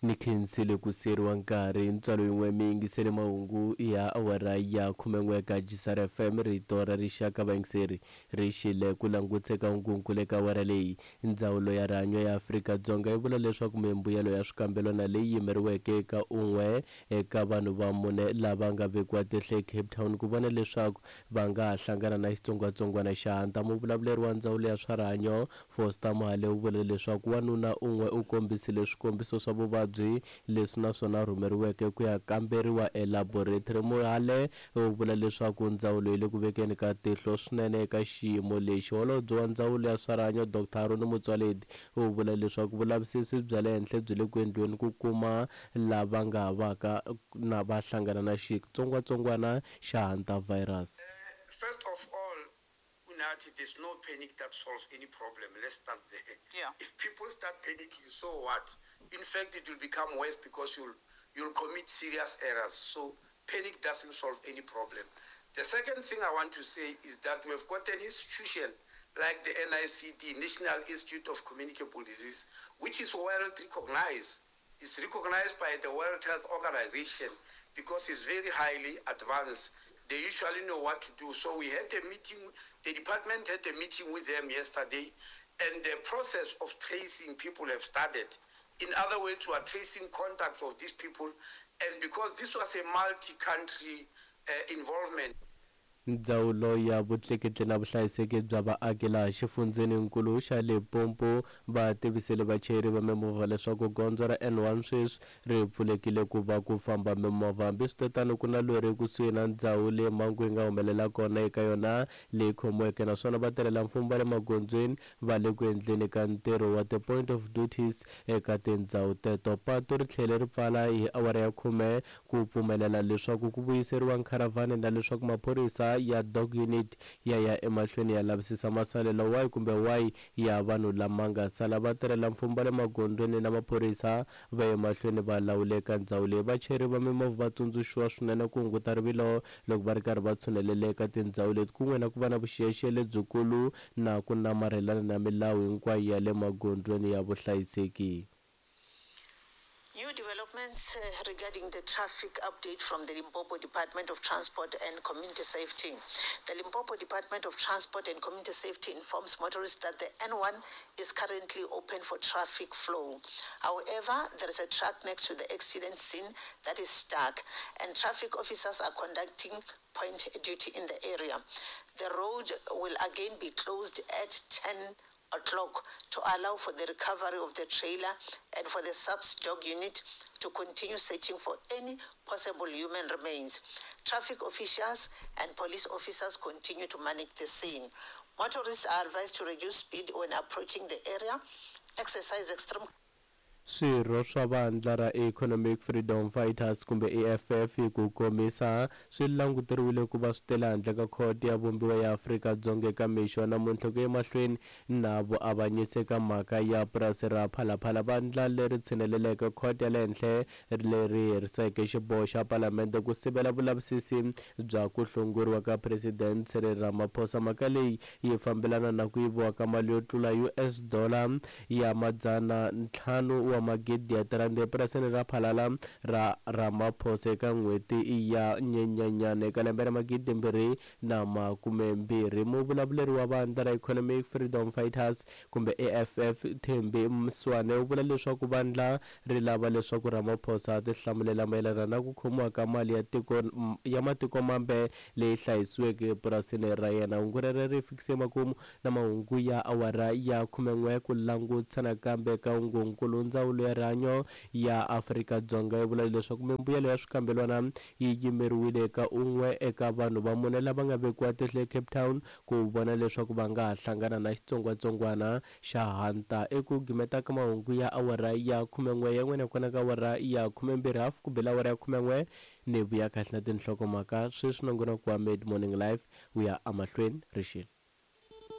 Ni khensile ku siyeriwa nkarhi ntswalo yin'we mi yingisele mahungu ya awara ya 11 ka Gisar FM rito ra rixaka vayingiseri ri xile ku langutse ka hungunkulu eka awara leyi. Ndzawulo ya rihanyo ya Afrika-Dzonga yi vula leswaku mimbuyelo ya swikambelwana leyi yimeriweke eka un'we eka vanhu va mune lava nga vekiwa tihlo eCape Town ku vona leswaku va nga ha hlangana na xitsongwatsongwana xa hanta. Muvulavuleri wa ndzawulo ya swa rihanyo Foster Mohale u vule leswaku wanuna un'we u kombisile swikombiso swa vuvabyi leswi naswona a rhumeriweke ku ya kamberiwa elaboratory. Mohale u vula leswaku ndzawulo yi le ku vekeni ka tihlo swinene eka xiyimo lexi. Holobye wa ndzawulo ya swa rihanyo Dr Aaron Motsoaledi u vula leswaku vulavisisi bya le henhla byi le ku endliweni ku kuma lava nga ha vaka na va hlangana na xitsongwatsongwana xa hantavirus. First of all, Unathi, there's no panic that solves any problem. Let's start there. If people start panicking, so what? In fact, it will become worse because you'll commit serious errors. So panic doesn't solve any problem. The second thing I want to say is that we've got an institution like the NICD, National Institute of Communicable Disease, which is well recognized. It's recognized by the World Health Organization because it's very highly advanced. They usually know what to do. So we had a meeting, the department had a meeting with them yesterday, and the process of tracing people have started. In other words, we are tracing contacts of these people, and because this was a multi-country involvement. Ndzawulo ya vutleketli na vuhlayiseki bya vaaki laha xifundzheninkulu xa Limpopo va tivisile vachayeri va mimovha leswaku gondzo ra N1 sweswi ri pfulekile ku va ku famba mimovha. Hambiswiritano ku na lori ekusuhi na ndzhawu leyi mhangu yi nga humelela kona eka yona leyi khomiweke, naswona vatirhela mfumo va le magondzweni va le ku endleni ka ntirho wa ti-point of duties eka tindhawu teto. Patu ri tlhele ri pfala hi awara ya 10 ku pfumelela leswaku ku vuyiseriwa nkharavhani na leswaku maphorisa ya dog unit ya ya emahlweni ya lavisisa masalelo wahi kumbe wahi ya vanhu lama nga sala. Vatirhela mfumo va le magondzweni na maphorisa va ye mahlweni va lawula eka ndzhawu leyi. Vachayeri va mimovha va tsundzuxiwa swinene ku hunguta rivilo loko va ri karhi va tshunelela eka tindhawu leti, kun'we na ku va na vuxiyaxiya lebyikulu na ku namarhelana na milawu hinkwayo ya le magondzweni ya vuhlayiseki. New developments regarding the traffic update from the Limpopo Department of Transport and Community Safety. The Limpopo Department of Transport and Community Safety informs motorists that the N1 is currently open for traffic flow. However, there is a truck next to the accident scene that is stuck, and traffic officers are conducting point duty in the area. The road will again be closed at 10 o'clock to allow for the recovery of the trailer and for the SAPS dog unit to continue searching for any possible human remains. Traffic officials and police officers continue to manage the scene. Motorists are advised to reduce speed when approaching the area, exercise extreme Swirho swa vandla ra Economic Freedom Fighters kumbe EFF hi ku komisa swi languteriwile ku va swi tele handle ka khoto ya vumbiwa ya Afrika-Dzonga eka mixo wa namuntlha ku ya emahlweni na vuavanyisi eka mhaka ya purasi ra Phalaphala. Vandla leri tshineleleke khoto ya le henhla leri heriseke xiboho xa palamende ku sivela vulavisisi bya ku hlongoriwa ka President Cyril Ramaphosa. Mhaka leyi yi fambelana na ku yiviwa ka mali yo tlula US dollar ya 500 wa magidi ya tirhandi epurasini ra Phalala ra Ramaphosa eka n'hweti ya Nyenyanyana eka lembe ra 2020. Muvulavuleri wa vandla ra Economic Freedom Fighters kumbe EFF Thembi Mswane u vula leswaku vandla ri lava leswaku Ramaphosa a tihlamulela mayelana na ku khomiwa ka mali ya tiko ya matiko mambe leyi hlayisiweke epurasini ra yena. Hungu rero ri fikise makumu na mahungu ya awara ya 11. Ku langutisa nakambe ka hungunkulu, ndzawulo ya rihanyo ya Afrika-Dzonga yi vula leswaku mimbuyelo ya swikambelwana yi yimeriwile eka un'we eka vanhu va mune lava nga vekiwa tihlo eCape Town ku vona leswaku va nga ha hlangana na xitsongwatsongwana xa hanta. Eku gimeta ka mahungu ya awara ya 11 ya n'wina kona ka awara ya 12 hafu ku bela awara ya 11 ni vuya kahle na tinhlokomhaka sweswi nongonoko wa Mid Morning Live wu ya emahlweni rixile.